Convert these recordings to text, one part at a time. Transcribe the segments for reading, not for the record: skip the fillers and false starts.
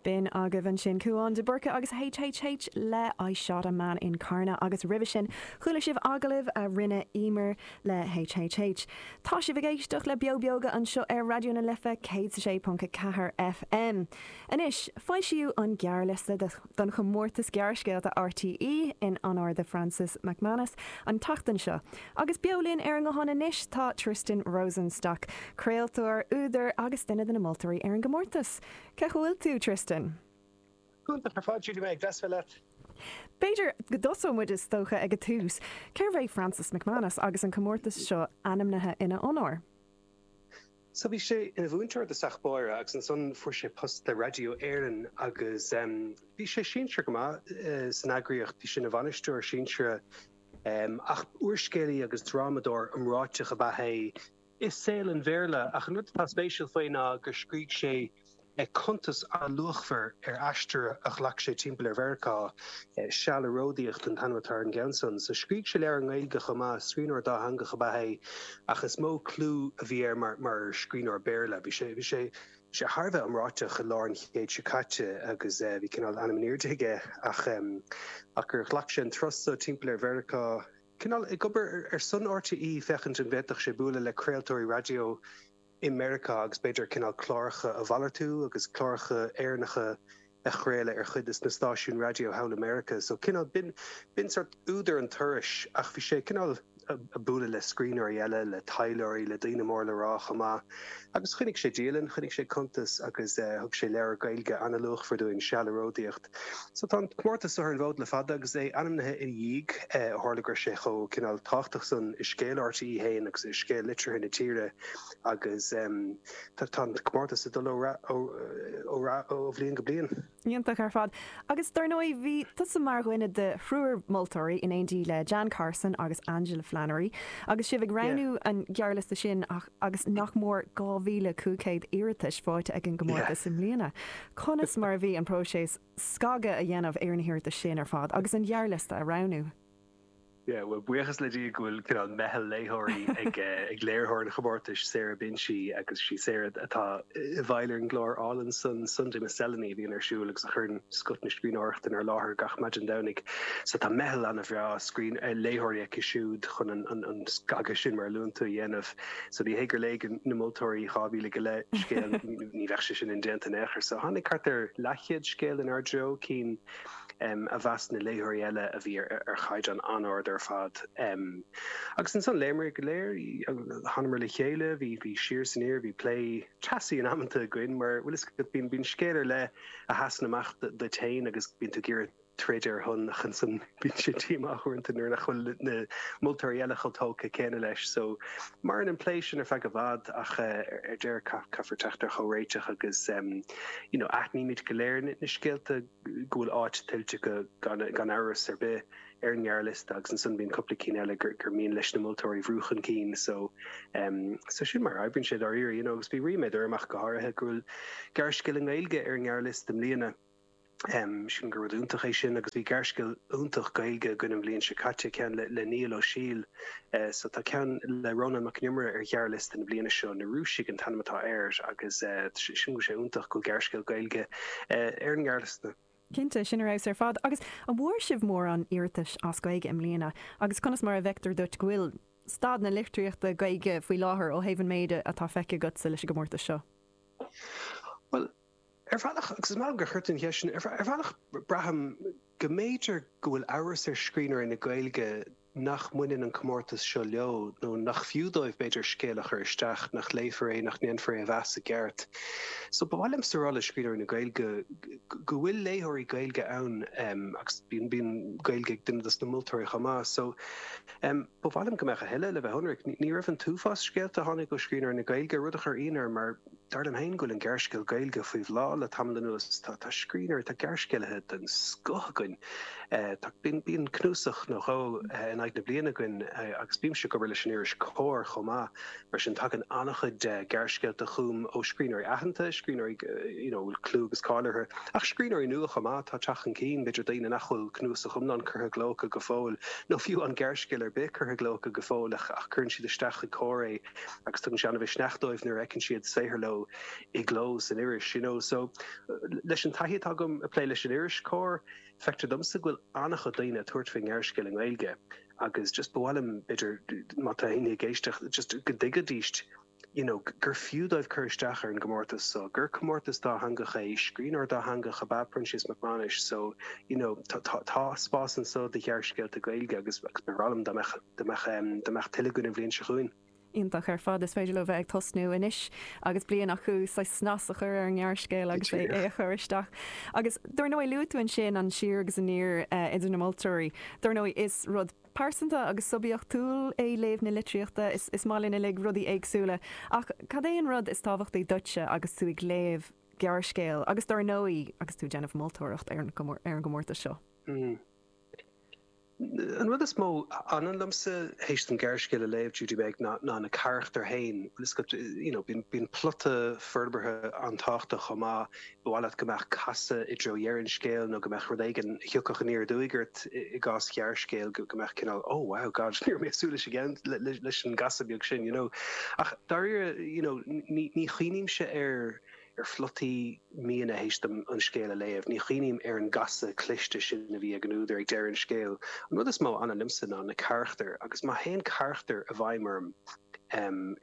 B'in agaibh ansin Cúán de Búrca agus HHH le I Shot a Man in Carna agus roimhe sin chuala sibh agallamh a rinne Emer le HHH. Tá sibh ag éisteacht le Beo Beoga anseo ar Raidió na Life 106.4 FM. Anois, foilsíodh an gearrliosta don chomórtas gearrscéalta RTÉ in onóir de Francis MacManus an tseachtain seo. Agus beo linn ar an nguthán anois tá Tristan Rosenstock, craoltóir, údar agus duine de na moltóirí ar an gcomórtas. Cén chaoi a bhfuil tú, Tristan? Go hiontach ar fad, Judy Meg, deas a bheith leat. B'fhéidir go dtosóidh muid is dócha ag an tús. Cérbh é Francis MacManus agus an comórtas seo ainmnithe ina onóir? So bhí sé ina mhúinteoir i dtosach báire agus ansan fuair sé post le Raidió Éireann agus bhí sé sinsear go maith san eagraíocht, bhí sé ina bhainisteoir sinsearach ach úrscéalaí agus drámadóir iomráiteach ab ea é. i saol an Bhéarla, ach an rud atá spéisiúil faoi ná gur scrígh sé cuntas an-luachmhar ar aistear a ghlac sé timpeall ar Mheiriceá, Seal ag Ródaíocht an t-ainm atá ar an gceann san. So scrígh sé leabhar i nGaeilge chomh maith, scríbhneoir dátheangach ab ea é, ach is mó clú a bhí air mar mar scríbhneoir Béarla. Bhí sé bhí sé bhí sé thar a bheith iomráiteach i lár an chéid seo caite agus bhí cineál ainm in airde aige ach ach gur ghlac sé an turas so timpeall ar Mheiriceá, cineál ag obair ar son RTÉ féachaint an bhféadfadh sé bualadh le craoltóirí raidió i Meiriceá agus b'fhéidir cineál cláracha a mhalartú agus cláracha Éireannacha a chraoladh ar chuid de na stáisiúin raidió thall i Meiriceá. So cineál b'in b'in sort údar an turais ach bhí sé cineál ag bualadh le scríbhneoirí eile, le taidhleoirí, le daoine mór le rá chomh maith. Agus choinnigh sé dialann, choinnigh sé cuntas agus thug sé leabhar Gaeilge an-luachmhar dúinn, Seal ag Ródaíocht. So tá an comórtas seo ar an bhfód le fada agus é ainmnithe ina dhiaidh, ó tharla go raibh sé chomh cineál tábhachtach san i scéal RTÉ féin agus i scéal liteartha na tíre agus tá an comórtas ag dul ó rath ó bhliain go bliain. Iontach ar fad. Agus dar ndóigh bhí tusa mar dhuine de thriúr moltóirí in éindí le Jan Carson agus Aingeala Flannery agus sibh ag roghnú an ghearrliosta sin ach agus nach mór 2,500 iarratais faighte ag an gcomórtas i mbliana. Conas mar a bhí an próiseas scagadh a dhéanamh ar na hiarratais sin ar fad agus an gearrliosta a roghnú? Yeah, bhuel, buíochas le Dia go bhfuil cineál meitheal léitheoirí ag ag léiritheoir an chomórtais, Sarah Binchy, agus sí Sarah atá i bhfeighil ar an gclár álainn san, Sunday Miscellany, a bhíonn ar siúl agus a chuireann scoth na scríbhneoireachta inár láthair gach maidin Domhnaigh. So tá meitheal an-bhreá scrín léitheoirí aici siúd chun an an an scagadh sin, mar a luann tú, a dhéanamh. So ní hé gur léigh na moltóirí 2,000 go leith scéal, ní bheadh sé sin indéanta in aon chor. So tháinig thart ar leathchéad scéal inár dtreo, cinn a mheas na léitheoirí eile a bhí ar chaighdeán an-ard ar fad. Agus ansan léamar iad go léir, thánamar le chéile, bhí bhí siar is aniar, bhí plé teasaí in amanta againn mar, bhfuil fhios agat, bíonn bíonn scéal ar leith a sheasann amach duit féin agus bíonn tú ag iarraidh troid ar a shon ach ansan bíonn sé díomách uaireanta nuair nach bhfuil na moltóirí eile chomh tógtha céanna leis. So maireann an plé sin ar feadh i bhfad ach ar deireadh caithfear teacht ar chomhréiteach agus you know aithnímid go léir na scéalta go bhfuil áit tuillte acu gan amhras ar bith ar an ngearrliosta agus ansan bíonn cúpla cinn eile gur mian leis na moltóirí a bhrú chun cinn so so sin mar a oibríonn sé dáiríre you know agus bhí ríméad orm ach go háirithe go bhfuil gearrscéal i nGaeilge ar an ngearrliosta i mbliana. Sílim gur rud iontach é sin agus bhí gearrscéal iontach Gaeilge againn an bhliain seo caite, ceann le Niall Ó Siail. So tá ceann le Rónán Mac Con Iomaire ar ghearrliosta na bliana seo, Na Rúisigh an t-ainm atá air agus sílim go bhfuil sé iontach go bhfuil gearrscéal Gaeilge ar an ngearrliosta. Cinnte, sin ar fheabhas ar fad. Agus an bhfuair sibh mórán iarratais as Gaeilge i mbliana agus conas mar a bhfeictear duit go bhfuil staid na litríochta Gaeilge faoi láthair ó thaobh an méid atá feicthe agatsa leis an gcomórtas seo? Bhuel, Ar bhealach, agus is maith liom gur chuir tú an cheist sin, ar bhealach braithim go mb'fhéidir go bhfuil amhras ar scríbhneoirí na Gaeilge nach mbaineann an comórtas seo leo, nó nach fiú dóibh b'fhéidir scéal a chur isteach, nach léifear é, nach ndéanfar é a mheas i gceart. So ba mhaith liomsa a rá le scríbhneoirí na Gaeilge go bhfuil léitheoirí Gaeilge ann agus bíonn bíonn Gaeilge ag duine dos na moltóirí chomh maith. So ba mhaith liom go mbeadh a thuilleadh, le bheith ionraic. Ní raibh an t-uafás scéalta a tháinig ó scríbhneoirí na Gaeilge, rud a chuir ionadh orm mar, Dar liom féin go bhfuil an gearrscéal Gaeilge faoi bhláth le tamall anuas. Tá scríbhneoirí, tá gearrscéalaithe den scoth againn. Tá, bíonn, bíonn cnuasach nó dhó in aghaidh. aghaidh na bliana againn agus bímse ag obair leis an iris Comhar chomh maith, mar sin tagann an-chuid gearrscéalta chugam ó scríbhneoirí aitheanta, scríbhneoirí you know a bhfuil clú agus cáil orthu, ach scríbhneoirí nua chomh maith atá ag teacht chun cinn, b'fhéidir daoine nach bhfuil cnuasach iomlán curtha i gcló acu go fóill, nó fiú an gearrscéal ar bith curtha i gcló acu go fóill ach ach cuireann siad isteach chuig Comhar é agus tugann sé an-mhisneach dóibh nuair a fheiceann siad saothar leo i gcló san iris, you know. So leis an taithí atá agam ag plé leis an iris Comhar, Feictear domsa go bhfuil an-chuid daoine ag tabhairt faoin ngearrscéal i nGaeilge agus just ba mhaith liom, b'fhéidir, má tá éinne ag éisteacht, just go dtuigfidís you know gur fiú dóibh cur isteach ar an gcomórtas so, gur comórtas dátheangach é, scríbhneoir dátheangach ab ea Proinsias Mac Mánais so you know tá tá tá spás anso do ghearrscéalta Gaeilge agus agus ba bhreá liom dá mbeadh dá mbeadh dá mbeadh tuilleadh againn an bhliain seo chugainn. Iontach ar fad. Is féidir leo bheith ag tosnú anois agus bliain acu saghas snas a chur ar an ngearrscéal agus é a chur isteach. Agus dar ndóigh luaigh tú ansin an siar agus aniar idir na moltóirí. Dar ndóigh is rud pearsanta agus suibiachtúil é léamh na litríochta. Is maith linn uilig rudaí éagsúla. Ach cad é an rud is tábhachtaí duitse agus tú ag léamh gearrscéil agus dar ndóigh agus tú ag déanamh moltóireacht ar an gcomórtas seo? An rud is mó a fhanann liomsa théis dom gearrscéal a léamh, Judy Meg, ná na carachtair féin. Bhfuil fhios agat, you know, bíonn, bíonn plota forbartha an-tábhachtach chomh maith. Ba mhaith leat go mbeadh casadh i dtreo dheireadh an scéil nó go mbeadh rud éigin a thiocfadh aniar aduaidh ort i gcás ghearrscéil, go, go mbeadh cineál oh wow, God, ní raibh mé ag súil leis an, leis an gcasadh beag sin, you know. Ach dáiríre, you know, ní, ní chuimhnímse ar, ar phlotaí miona théis dom an scéal a léamh. Ní chuimhním ar an gcasadh cliste sin a bhí ag an údar ag deireadh an scéil. An rud is mó a fhanann liomsa ná na carachtair agus má théann carachtar i bhfeidhm orm,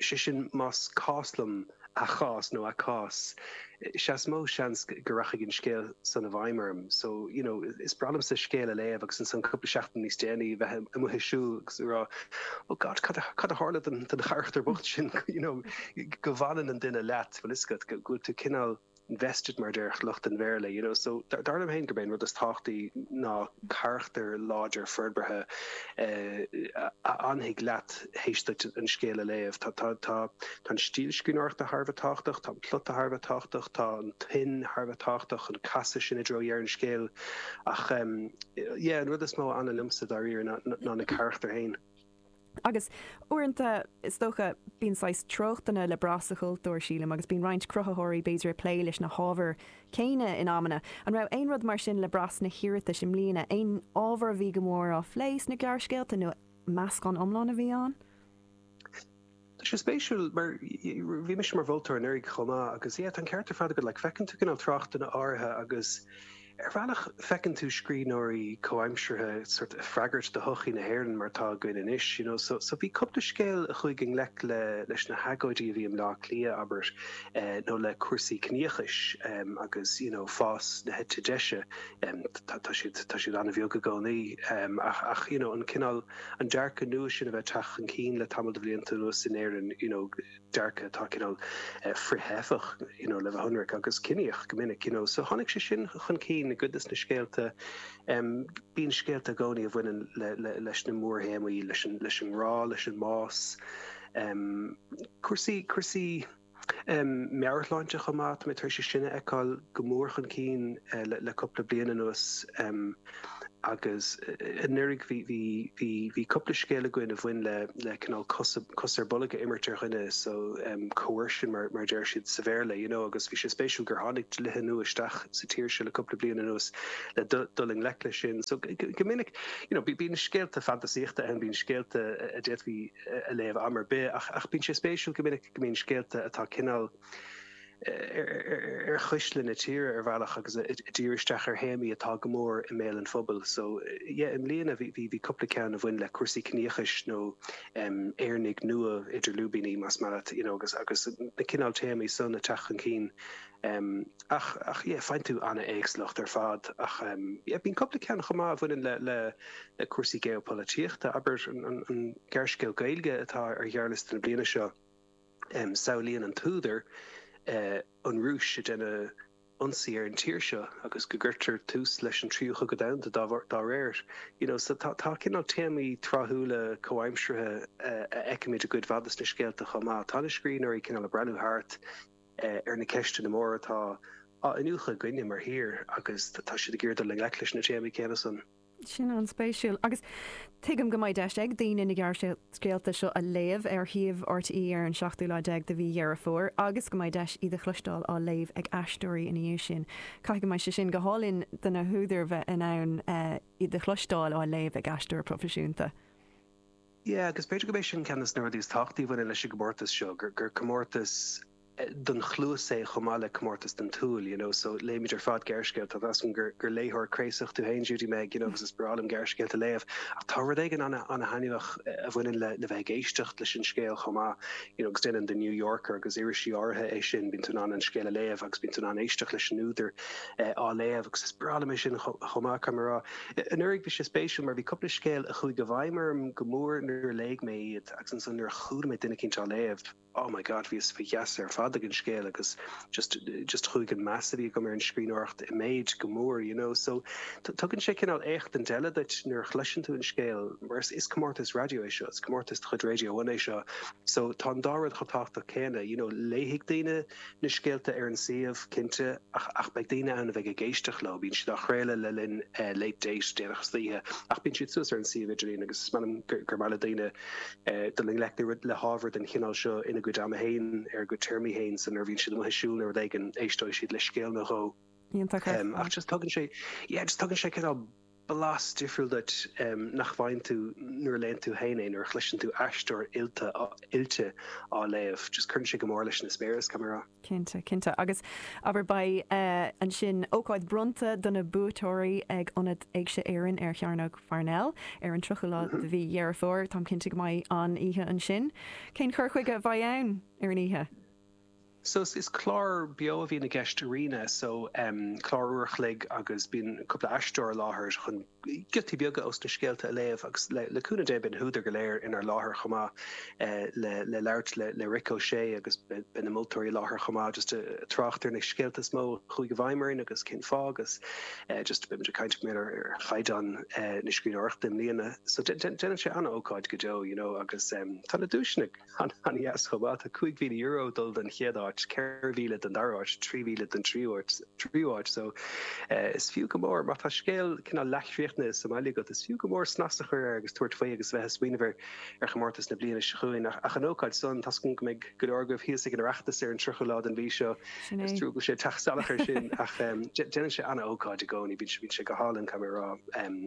sé sin más cás liom a chás nó a cás, is ea is mó seans go rachaidh an scéal san i bhfeidhm orm. So, you know, is breá liomsa scéal a léamh agus ansan cúpla seachtain níos déanaí bheith amuigh ag siúl agus ag rá oh God, cad a tharla don charachtar bocht sin, you know, go bhfanann an duine leat, bhfuil fhios agat, go bhfuil tú cineál invested mar a déarfadh lucht an Bhéarla, you know. So dar liom féin gurb é an rud is tábhachtaí ná carachtar láidir forbartha a fhanfaidh leat théis duit an scéal a léamh. Tá, tá, tá, tá an stíl scríbhneoireachta thar a bheith tábhachtach, tá an plota thar a bheith tábhachtach, tá an tuin thar a bheith tábhachtach, an casadh sin i dtreo dheireadh an scéil ach yeah, an rud is mó a fhanann liomsa dáiríre ná, ná na carachtair féin. Agus uaireanta, is dócha, bíonn saghas treochtanna le brath sa chultúr, sílim, agus bíonn roinnt cruthaitheoirí, b'fhéidir, ag plé leis na hábhair céanna in amanna. An raibh aon rud mar sin le brath sna hiarratais i mbliana? Aon ábhar a bhí go mór á phlé sna gearrscéalta nó meascán iomlán a bhí ann? Tá sé spéisiúil mar bhí mise mar mholtóir anuraidh chomh maith agus yeah tá an ceart ar fad agat like feiceann tú cineál treochtanna áirithe agus ar bhealach feiceann tú scríbhneoirí comhaimseartha sort ag freagairt do shochaí na hÉireann mar atá againn anois you know so so bhí cúpla scéal a chuaigh i ngleic le leis na hagóidí a bhí i mBleá Cliath abair eh nó le cúrsaí ciníochais em agus you know fás na heite deise em tá tá siad tá siad an-bheag i gcónaí em ach ach you know an cineál an dearcadh nua sin a bheith ag teacht chun cinn le tamall de bhlianta anuas in Éirinn, you know, dearcadh atá cineál frith-theifeach, you know, le bheith ionraic, agus ciníoch go minic, you know. So tháinig sé sin chun cinn i gcuid de na scéalta. Bíonn scéalta i gcónaí a bhaineann le, le, leis na mórthéamaí, leis an, leis an ngrá, leis an mbás, cúrsaí, cúrsaí, Meabhairshláinte chomh maith, tá mé tar éis é sin a fheiceáil go mór chun cinn le cúpla bliain anuas agus anuraidh bhí cúpla scéal againn a bhain le le cineál cos cos ar bolg a imirt ar dhuine so coercion mar mar a deir siad sa Bhéarla you know agus bhí sé spéisiúil gur tháinig dlíthe nua isteach sa tír seo le cúpla bliain anuas le dul i ngleic leis sin so go minic you know bíonn scéalta fantasaíochta ann bíonn scéalta a d'fhéadfaí a léamh am ar bith, ach bíonn sé spéisiúil go minic go mbíonn scéalta atá cineál ar chuisle na tíre ar bhealach agus ag díriú isteach ar théamaí atá go mór i mbéal an phobail. So yeah, i mbliana bhí bhí cúpla ceann a bhain le cúrsaí ciníochais nó Éireannaigh nua idir lúibíní más maith leat, you know, agus agus na cineál téamaí san ag teacht chun cinn. Ach ach yeah, faigheann tú an-éagsúlacht ar fad ach yeah, bíonn cúpla ceann chomh maith a bhaineann le le le cúrsaí geopholaitíochta, abair an an gearrscéal Gaeilge atá ar ghearrliosta na bliana seo, samhlaíonn an t-údar an Rúis ag déanamh ionsaí ar an tír seo agus go gcuirtear tús leis an Tríú Chogadh Domhanda dá dá réir. You know, so tá tá cineál téamaí tráthúla comhaimseartha a fheicimid i gcuid mhaith de na scéalta chomh maith. Tá na scríbhneoirí cineál ag breathnú thart ar na ceisteanna móra atá á iniúchadh againne mar thír agus tá siad ag iarraidh dul i ngleic leis na téamaí céanna san. Sin an-spéisiúil. Agus tuigim go mbeidh deis ag daoine na gearrscéalta seo a léamh ar shuíomh RTÉ ar an seachtú lá déag de mhí Dheireadh Fómhair agus go mbeidh deis iad a chloisteáil á léamh ag aisteoirí ina dhiaidh sin. Caithfidh go mbeidh sé sin go hálainn do na húdair bheith in ann iad a chloisteáil á léamh ag aisteoir proifisiúnta. Yeah, agus b'fhéidir go mb'é sin ceann de na rudaí is tábhachtaí a bhaineann leis an gcomórtas seo, gur comórtas don chluas é chomh maith le comórtas don tsúil, you know, so léimid ar fad gearrscéalta, tá a fhios agam gur gur léitheoir craosach tú féin Judy Meg, you know, agus is breá liom gearrscéalta a léamh, ach tá rud éigin ana-thaitneamhach a bhaineann le le bheith ag éisteacht leis an scéal chomh maith, you know, agus déanann The New Yorker agus irisí áirithe é sin, bíonn tú in ann an scéal a léamh agus bíonn tú in ann éisteacht leis an údar á léamh agus is breá liom é sin chomh maith, caithfidh mé a rá. Anuraidh bhí sé spéisiúil mar bhí cúpla scéal a chuaigh i bhfeidhm orm go mór nuair a léigh mé iad agus ansan nuair a chuala mé duine eicínt á léamh, oh my God, bhíos faoi gheasa ar fad ag an scéal agus just, just chuaigh an meas a bhí agam ar an scríbhneoireacht i méid go mór, you know. So tugann sé cineál éachtaint eile duit nuair a chloiseann tú an scéal mar is, is comórtas raidió é seo, is comórtas de chuid Radio One é seo. So tá an dá rud chomh tábhachtach céanna, you know, léifidh daoine na scéalta ar an suíomh, cinnte, ach, ach beidh daoine ann a bheidh ag éisteacht leo. Bíonn siad á chraoladh le linn Late Date déanach istoíche ach bíonn siad suas ar an suíomh idirlín agus is maith liom gur, gur maith le daoine dul i ngleic le hábhar den chineál seo ina gcuid ama féin, ar a gcuid téarmaí féin, so nuair a bhíonn siad amuigh ag siúl nó rud éigin, éisteoidh siad le scéal nó dhó. Iontach ar fad. Ach just tugann sé, yeah, just tugann sé cineál blas difriúil duit nach bhfaigheann tú nuair a léann tú féin é, nuair a chloiseann tú aisteoir oilte, oilte á léamh. Just cuireann sé go mór leis an eispéireas, caithfidh mé a rá. Cinnte, cinnte. Agus abair, beidh ansin ócáid bronnta do na buaiteoirí ag Ionad Éigse Éireann ar Chearnóg Pharnell ar an 30ú lá de mhí Dheireadh Fómhair. Táim cinnte go mbeidh an-oíche ansin. Cén cur chuige a bheidh ann ar an oíche? So is clár beo a bhíonn i gceist Ríona, so clár uair a chloig agus bíonn cúpla aisteoir i láthair chun giotaí beaga ós na scéalta a léamh agus le cúnamh Dé beidh na húdair go léir inár láthair chomh maith le labhairt le Rick O'Shea agus beidh na moltóirí i láthair chomh maith just ag trácht ar na scéalta is mó a chuaigh i bhfeidhm orainn agus cén fáth agus just beidh muid ag caint mar ar chaighdeán na scríbhneoireachta i mbliana. So déanann sé an-ócáid go deo you know agus tá na duaiseanna An-dheas chomh maith. Tá €5,000 ag dul don chéad áit, 4,000 don dara háit, 3,000 don tríú háit. So is fiú go mór, má tá scéal cineál leathchríochnaithe sa mbaile agat, is fiú go mór snas a chur air agus tabhairt faoi agus bheith ag smaoineamh ar ar chomórtas na bliana seo chugainn. Ach an ócáid san, tá's agam go mbeidh go leor agaibh thíos ag an Oireachtas ar an 30ú lá den mhí seo. Is trua go bhfuil sé ag teacht salach air sin ach déanann sé an-ócáid i gcónaí, bíonn sé go hálainn, caithfidh mé a rá.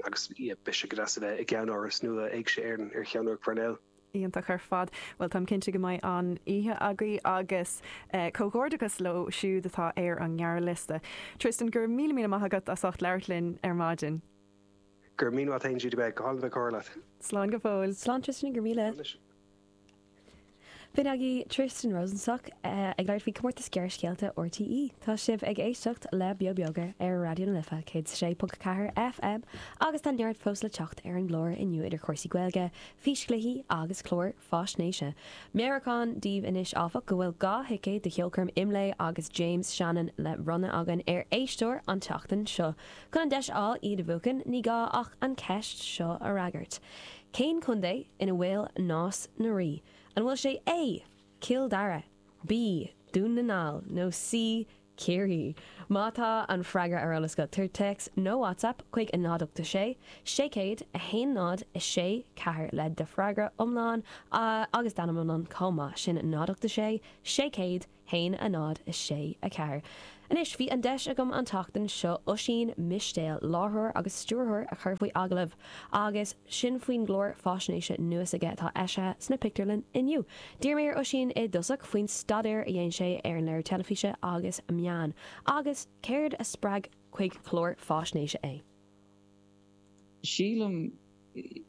Agus beidh sé go deas a bheith i gceannáras nua Éigse Éireann ar Chearnóg Pharnell. Iontach ar fad. Bhuel, táim cinnte go mbeidh an-oíche agaibh agus comhghairdeachas leo siúd atá ar an ngearrliosta. Tristan, go raibh míle míle maith agat as ucht labhairt linn ar maidin. Go raibh míle maith agat féin, Judy Meg. Go hálainn bheith ag comhrá leat. Slán go fóill. Slán Tristan, go raibh míle. B'in agaibh Tristan Rosenstock ag labhairt faoi Comórtas Gearrscéalta RTÉ. Tá sibh ag éisteacht le Beo Beoga ar Raidió na Life 106.4 FM agus tá neart fós le teacht ar an gclár inniu idir chúrsaí Gaeilge, físchluichí agus cláir faisnéise. Meabhrúchán daoibh anois, áfach, go bhfuil 2 thicéad do cheolchoirm Imlé agus James Shannon le bronnadh againn ar éisteoir an tseachtain seo. Chun an deis a fháil iad a bhuachan, ní gá ach an cheist seo a fhreagairt. Cén contae ina bhfuil Nás na Rí? An bhfuil sé A, Cill Dara, B, Dún na nGall nó C, Ciarraí. Má tá an freagra ar eolas agat, tabhair téacs nó WhatsApp chuig 0 8 6 600 1 0 6 4 le do freagra iomlán agus d'ainm iomlán chomh maith. Sin 0 8 6 600 1 0 6 4. Anois, bhí an deis agam an tseachtain seo Oisín Mistéil, láithreoir agus stiúrthóir, a chur faoi agallamh agus sin faoin gclár faisnéise nua s'aige atá eisithe sna pictiúrlanna inniu. D'iarr mé ar Oisín i dtosach faoin staidéar a dhein sé ar an léiriú teilifíse agus meán, agus céard a spreag chuig clár faisnéise é. Sílim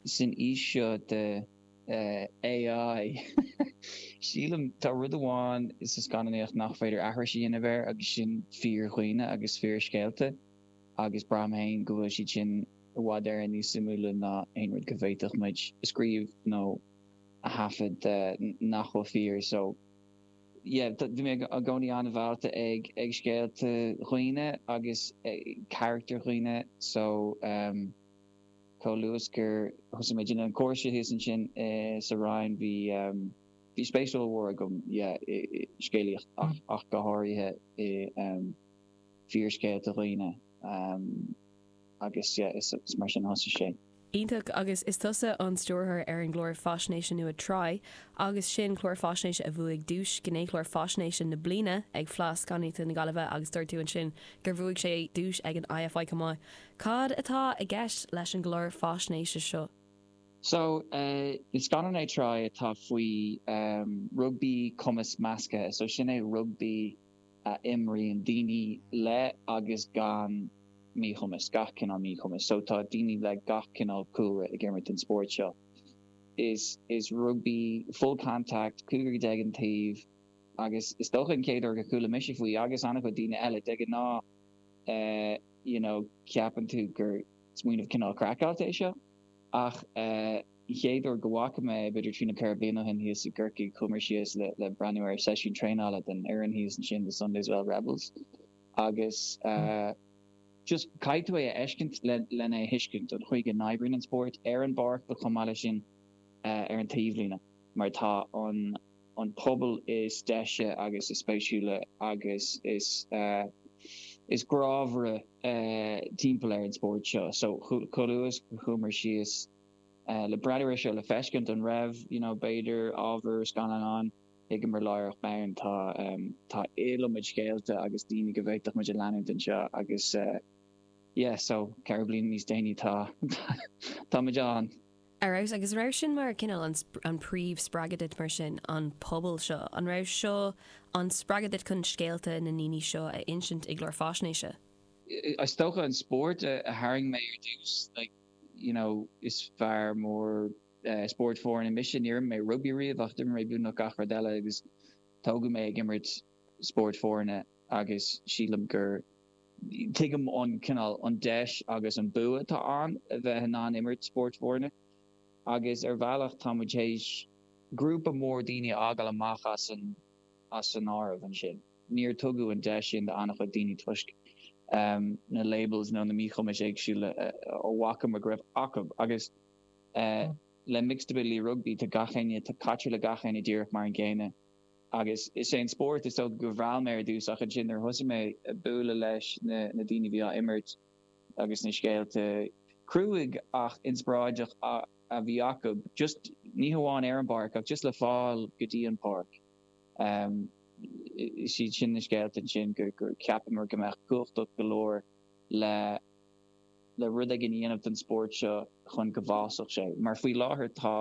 san aois seo de AI, sílim, tá rud amháin sa scannánaíocht nach féidir aithris a dhéanamh air agus sin fíor-dhaoine agus fíorscéalta agus braithim féin go bhfuil siad sin i bhfad Éireann níos suimiúla ná aon rud go bhféadfadh muid a scríobh nó a thaifead nach bhfuil fíor. So yeah, bhí mé i gcónaí an-mheallta ag ag scéalta dhaoine agus carachtair dhaoine so um, chomh luath is gur thosaigh mé ag déanamh an cúrsa thíos ansin sa Rinn bhí bhí spéis ollmhór agam yeah i scéalaíocht ach ach go háirithe i fíorscéalta dhaoine. Agus yeah, is mar sin a thosaigh sé. Iontach, agus is tusa an stiúrthóir ar an gclár faisnéise nua Try, agus sin clár faisnéise a bhuaigh duais Gnéchlár Faisnéise na Bliana ag Fleadh Scannánaíochta na Gaillimhe agus dúirt tú ansin gur bhuaigh sé duais ag an IFI chomh maith. Cad atá i gceist leis an gclár faisnéise seo? So, is scannán é Try atá faoi rugbaí cumas measctha. So sin é rugbaí a imríonn daoine le agus gan míchumas, gach cineál míchumas. So tá daoine le gach cineál cúlra ag imirt an spórt seo. Is is rugbaí full contact, cúigear déag an taobh agus is dócha an chéad uair go chuala mise faoi agus an-chuid daoine eile, de ghnáth eh you know ceapann tú gur smaoineamh cineál craiceáilte é seo ach eh an chéad uair go bhfaca mé é, b'fhéidir trí nó 4 bliana ó shin thíos i gCorcaigh, chuamar síos le le breathnú ar seisiún traenála den fhoireann thíos ansin, the Sunday's Well Rebels, agus just caithfidh tú é a fheiscint le lena é thuiscint, an chaoi go n-oibríonn an spórt ar an bpáirc but chomh maith leis sin ar an taobhlíne mar tá an an pobal is deise agus is spéisiúla agus is is grámhaire timpeall ar an spórt seo. So chomh luath is a chuamar síos le breathnú air seo le feiscint an raibh you know b'fhéidir ábhar scannáin ann, thuigeamar láithreach bonn tá tá iliomad scéalta agus daoine go bhféadfadh muid a leanúint anseo agus yeah so 4 bliana níos déanaí tá tá muid ann. Ar fheabhas, agus an raibh sin mar cineál an an príomh spreagadh duit mar sin, an pobal seo? An raibh seo an spreagadh duit chun scéalta na ndaoine seo a insint i gclár faisnéise? Is dócha an spórt a tharraing mé ar dtús, like you know is fear mór spóirt foirne mise, níor imir mé rugbaí riamh ach d'imir mé beagnach gach rud eile agus tógadh mé ag imirt spóirt foirne agus sílim gur tuigim an cineál, an deis agus an bua atá ann a bheith in ann imirt spóirt foirne agus ar bhealach tá muid théis grúpa mór daoine a fhágáil amach as an as an áireamh ansin. Níor tugadh an deis sin d'an-chuid daoine toisc na labels nó na míchumais éagsúla a bhfacamar go raibh acu agus le Mixed Ability Rugby tá gach éinne, tá caitear le gach éinne díreach mar an gcéanna. Agus is é an spórt is dócha gur mheall mé ar dtús ach ansin nuair a thosaigh mé ag bualadh leis na daoine a bhí á imirt agus na scéalta cruaidh ach inspioráideach a bhí acu, just ní hamháin ar an bpáirc ach just le fáil go dtí an páirc. Is iad sin na scéalta ansin gur cheapamar go mbeadh cumhachtach go leor le le rud éigin a dhéanamh don spórt seo chun go bhfásfadh sé. Mar faoi láthair tá.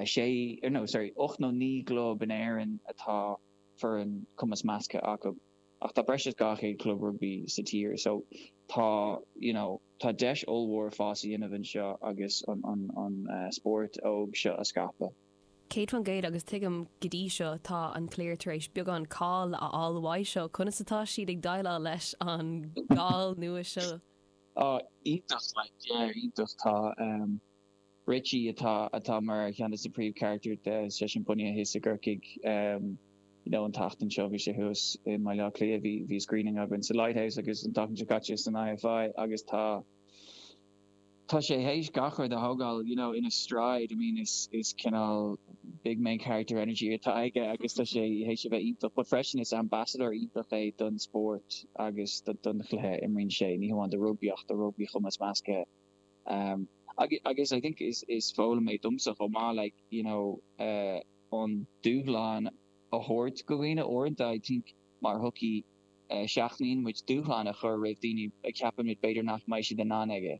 sé, no sorry, 8 nó 9 gclub in Éirinn atá foireann cumas measctha acu ach tá breis is 200 club rugbaí sa tír so tá you know tá deis ollmhór fás a dhéanamh anseo agus an an an spórt óg seo a scaipeadh. 100% agus tuigim go dtí seo tá an cliar tar éis beagán cáil a fháil uaidh seo, conas atá siad ag déileáil leis an gcáil nua seo? Oh iontach like yeah iontach tá um Richie atá atá mar cheann de na príomhcharachtair de seisean bunaithe thíos i gCorcaigh you know an tseachtain seo bhí sé thuas i mBaile Átha Cliath bhí bhí screening againn sa Lighthouse agus an tseachtain seo caite san IFI agus tá tá sé théis gach rud a thógáil you know ina stride I mean is is cineál big main character energy atá aige agus tá sé théis a bheith iontach but freisin is ambassador iontach é don spórt agus don chluiche imríonn sé ní hamháin do rugbaí ach do rugbaí chumas measctha. Agus I think is is foghlaim é domsa chomh maith like you know an dúshlán a thabhairt go dhaoine uaireanta I think mar shochaí seachnaíonn muid dúshlán a chur roimh daoine a ceapann muid b'fhéidir nach mbeidh siad in ann aige.